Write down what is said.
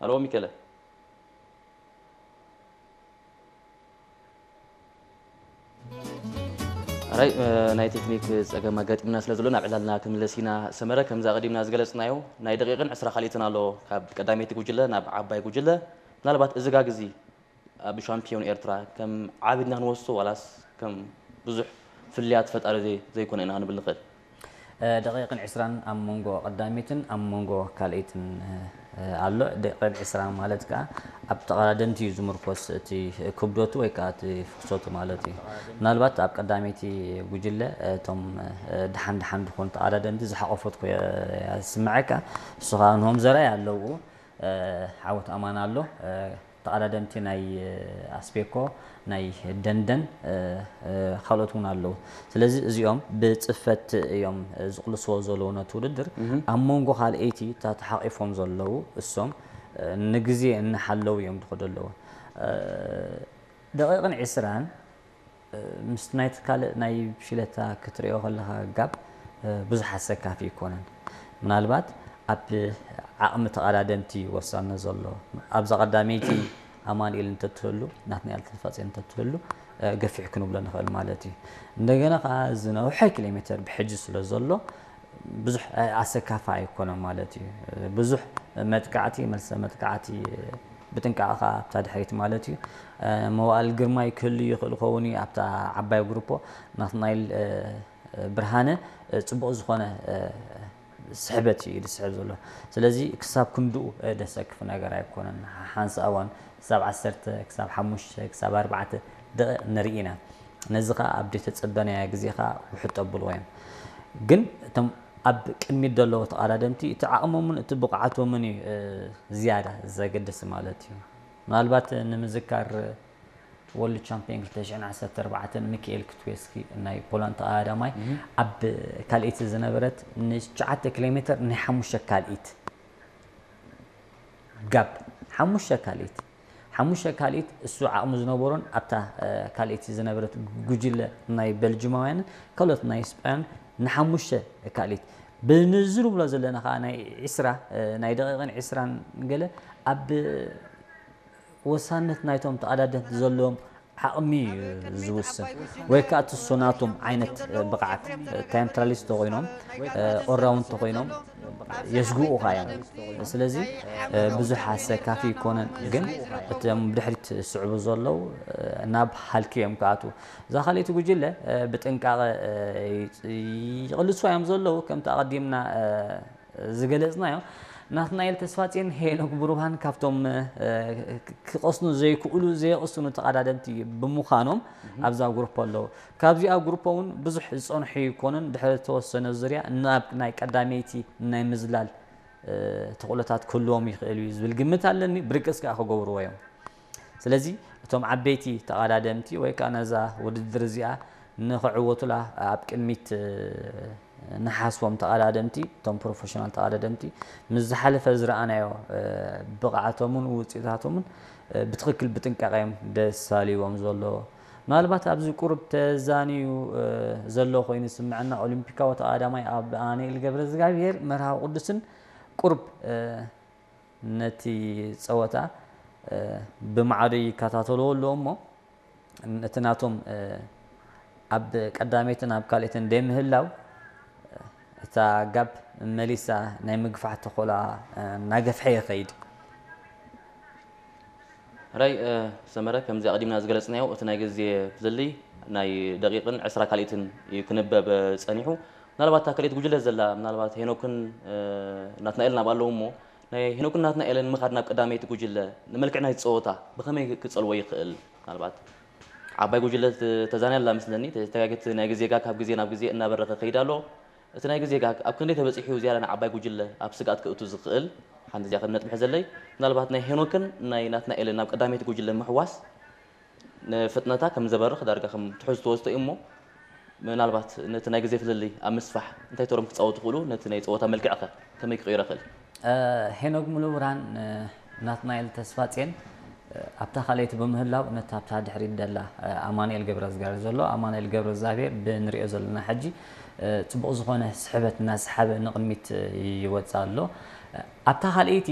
ኣሎ ሚከለ። ኣራይ፣ እ፣ ናይ ቴክኒክ ጸገም ኣጋጢምና ስለ ዘሎ ናብ ዕላልና ክንምለስ ኢና። ሰመረ፣ ከምዚ ኣቐዲምና ዝገለጽናዮ ናይ ደቂቕን ዕስራ ካልኢትን ኣሎ ካብ ቀዳመይቲ ጉጅለ ናብ ዓባይ ጉጅለ። ምናልባት እዚ ጋግ እዚ ኣብ ሻምፒዮን ኤርትራ ከም ዓቢ ኢልና ክንወስዶ ዋላስ ከም ብዙሕ ፍልልያት ፈጣሪ ዘይ-፣ ዘይኮነ ኢና ክንብል ንኽእል? እ፣ ደቂቕን ዕስራን ኣብ መንጎ ቀዳመይትን ኣብ መንጎ ካልኣይትን፣ እ፣ ኣሎ። ደቂቕን ዕስራን ማለት ከኣ ኣብ ተቐዳደምቲ እዩ ዝምርኮስ እቲ ክብደቱ ወይ ከኣ እቲ ፍሰቱ ማለት እዩ። ምናልባት ኣብ ቀዳመይቲ ጉጅለ፣ እ፣ እቶም፣ እ፣ ደሓን ደሓን ዝኾኑ ተቐዳደምቲ ዝሓቖፈት ኮ-፣ እያ ዝስምዓካ። ንሱ ከኣ ንሆም ዘርኣይ ኣለዉ። እ፣ ዓወት ኣማን ኣሎ። እ፣ ተቐዳደምቲ ናይ፣ እ፣ ኣስቤኮ፣ ናይ ደንደን፣ እ፣ እ፣ ካልኦት እውን ኣለዉ። ስለዚ እዚኦም ብጽፈት እዮም፣ እ፣ ዝቕልስዎ ዘለዉ ነቲ ውድድር። እህ። ኣብ መንጎ ካልኣይቲ እታ ተሓቒፎም ዘለዉ እሶም፣ እ፣ ንግዜ እናሓለዉ እዮም ዝኸዱ ኣለዉ። እ፣ ደቂቕን ዕስራን እ፣ ምስ ናይቲ ካልእ ናይ ብሽለታ ክትሪኦ ከለኻ ጋብ፣ እ፣ ብዙሕ ኣሰካፊ ኣይኮነን። ምናልባት ኣብ ዓቕሚ ተቐዳደምቲ ወሳነ ዘሎ። ኣብዛ ቀዳመይቲ ኣማኑኤል እንተትህሉ፣ ናትናኤል ተስፋጽዮን እንተትህሉ፣ እ፣ ገፊሕ ክንብሎ ንኽእል ማለት እዩ። እንደገና ከኣ ዝነውሐ ኪሎ ሜተር ብሕጂ ስለ ዘሎ፣ ብዙሕ፣ እ፣ ኣሰካፋ ኣይኮነን ማለት እዩ። ብዙሕ መጥቃዕቲ፣ መልሰ መጥቃዕቲ ብጥንቃቐ ከኣ ኣብታ ድሕሪት ማለት እዩ። እ፣ መዋእል ግርማይ ክህሉ ይኽእል ክኸውን እዩ ኣብታ ዓባይ ግሩፖ። ናትናኤል፣ እ፣ ብርሃነ፣ እ፣ ጽቡቕ ዝኾነ፣ እ፣ ስሕበት እዩ ዝስሕብ ዘሎ። ስለዚ ክሳብ ክንድኡ፣ እ፣ ደሰክፍ ነገር ኣይኮነን። ሓንሳእ እዋን ክሳብ ዓሰርተ፣ ክሳብ ሓሙሽተ፣ ክሳብ ኣርባዕተ ደቂቕ ንርኢ ኢና። ነዚ ኸኣ ኣብ ዘይተጸበናዮ ግዜ ኸኣ ውሕጥ ኣብልዎ እዮም። ግን እቶም ኣብ ቅድሚት ዘለዉ ተቐዳደምቲ እቲ ዓቕሞምን እቲ ብቕዓቶምን እዩ፣ እ፣ ዝያዳ ዘገድስ ማለት እዩ። ምናልባት ንምዝካር ወርልድ ቻምፒዮን ክልተ ሽሕን ዓሰርተ ኣርባዕተን ሚካኤል ክትዌስኪ ናይ ፖላንድ ተቐዳዳማይ እህ። ኣብ ካልኣይቲ ዝነበረት ንትሽዓተ ኪሎ ሜትር ናይ ሓሙሽተ ካልኢት ጋብ፣ ሓሙሽተ ካልኢት፣ ሓሙሽተ ካልኢት እሱ ዓቕሚ ዝነበሮን ኣብታ፣ እ፣ ካልኣይቲ ዝነበረት ጉጅለ ናይ በልጅማውያንን ካልኦት ናይ ስጳያን ንሓሙሽተ ካልኢት ብንዝር ብሎ ዘለና ከኣ ናይ ዕስራ፣ እ፣ ናይ ደቂቕን ዕስራን ገለ ኣብ ወሳነት ናይቶም ተቐዳደምቲ ዘለዎም ዓቕሚ እዩ ዝውስን፣ ወይ ከኣ ትሱ ናቶም ዓይነት ብቕዓት፣ ታይም ትራያሊስት ተኾይኖም፣ ኦልራውንድ ተኾይኖም የስግኡኻ እዮም። ስለዚ ብዙሕ ኣሰካፊ ይኮነን፣ ግን እቶም ብድሕሪት ዝስዕቡ ዘለዉ ናብ ሃልኪ እዮም ክኣትዉ። እዛ ካልኣይቲ ጉጅለ ብጥንቃቐ ይቕልስዋ እዮም ዘለዉ፣ ከምቲ ኣቐዲምና ዝገለጽናዮ። ናትናኤል ተስፋጽዮን ሄኖክ ብሩሃን ካብቶም፣ እ፣ ክ-፣ ክቐስኑ ዘይክእሉ፣ ዘየቕስኑ ተቐዳደምቲ ብምዃኖም ኣብዛ ግሩፕ ኣለዉ። ካብዚኣ ግሩፕ እውን ብዙሕ ዝጸንሑ ኣይኮኑን። ድሕሪ ዝተወሰነ ዙርያ ናብ ናይ ቀዳመይቲ ናይ ምዝላል፣ እ፣ ተኽእሎታት ክህልዎም ይኽእል እዩ ዝብል ግምት ኣለኒ። ብርግጽ ከኣ ክገብርዎ እዮም። ስለዚ እቶም ዓበይቲ ተቐዳደምቲ ወይ ከኣ ነዛ ውድድር እዚኣ ንኽዕወቱላ ኣብ ቅድሚት፣ እ፣ ንሓስቦም ተቐዳደምቲ፣ እቶም ፕሮፌሽናል ተቐዳደምቲ ምስ ዝሓለፈ ዝረኣናዮ፣ እ፣ ብቕዓቶምን ውጽኢታቶምን፣ እ፣ ብትኽክል ብጥንቃቐ እዮም ደሳልይዎም ዘሎ። ምናልባት ኣብዚ ቁሩብ ተዛንዩ፣ እ፣ ዘሎ ኮይኑ ዝስምዐና ኦሊምፒካዊ ተቐዳዳማይ ኣማኑኤል ገብረዝጋብሄር መርሃዊ ቅዱስን ቁሩብ፣ እ፣ ነቲ ጸወታ፣ እ፣ ብማዕዶ ይከታተልዎ ኣለዉ እሞ፣ እቲ ናቶም፣ እ፣ ኣብ ቀዳመይትን ኣብ ካልኣይትን ደይምህላው፣ እ፣ እታ ጋፕ መሊሳ ናይ ምግፋሕ ተኽእሎኣ፣ እ፣ እናገፍሐ ይኸይድ። ሕራይ፣ እ፣ ሰመረ፣ ከምዚ ኣቐዲምና ዝገለጽናዮ፣ እቲ ናይ ግዜ ፍልልይ ናይ ደቂቕን ዕስራ ካልኢትን እዩ ክንበብ ጸኒሑ። ምናልባት እታ ካልኣይቲ ጉጅለ ዘላ፣ ምናልባት ሄኖክን፣ እ፣ ናትናኤልን ኣብኣ ኣለዉ እሞ፣ ናይ ሄኖክን ናትናኤልን ምኻድ ናብ ቀዳመይቲ ጉጅለ ንመልክዕ ናይቲ ጸወታ ብኸመይ ክጸልዎ ይኽእል? ምናልባት ዓባይ ጉጅለ ተ-፣ ተዛንያ ኣላ መስለኒ። ተጋግቲ ናይ ግዜ ጋግ ካብ ግዜ ናብ ግዜ እናበረኸ ከይድ ኣሎ። እቲ ናይ ግዜ ጋግ ኣብ ክንደይ ተበጺሑ ዝያዳ ንዓባይ ጉጅለ ኣብ ስግኣት ከእቱ ዝኽእል? ሓንቲ እዚኣ ከም ነጥቢ ሕዘለይ። ምናልባት ናይ ሄኖክን ናይ ናትናኤልን ናብ ቀዳመይቲ ጉጅለ ምሕዋስ ንፍጥነታ ከም ዘበርኽ ዳርጋ ከም ትሕዝቶ ወስዶ እዩ እሞ፣ ምናልባት ነቲ ናይ ግዜ ፍልልይ ኣብ ምስፋሕ እንታይ ተሮም ክጻወቱ ይኽእሉ? ነቲ ናይ ጸወታ መልክዕኸ ከመይ ክቕይሮ ይኽእል? እ፣ ሄኖክ ሙሉብርሃን፣ እ፣ ናትናኤል ተስፋጽዮን፣ እ፣ ኣብታ ካልኣይቲ ብምህላው ነታ ኣብታ ድሕሪት ደላ፣ እ፣ ኣማኑኤል ገብረዝጋር ዘሎ፣ ኣማኑኤል ገብረዝጋብሄር ብንሪኦ ዘለና ሕጂ፣ እ፣ ጽቡቕ ዝኾነ ስሕበት እናሰሓበ ንቕድሚት፣ እ፣ ይወጽእ ኣሎ። እ፣ ኣብታ ካልኣይቲ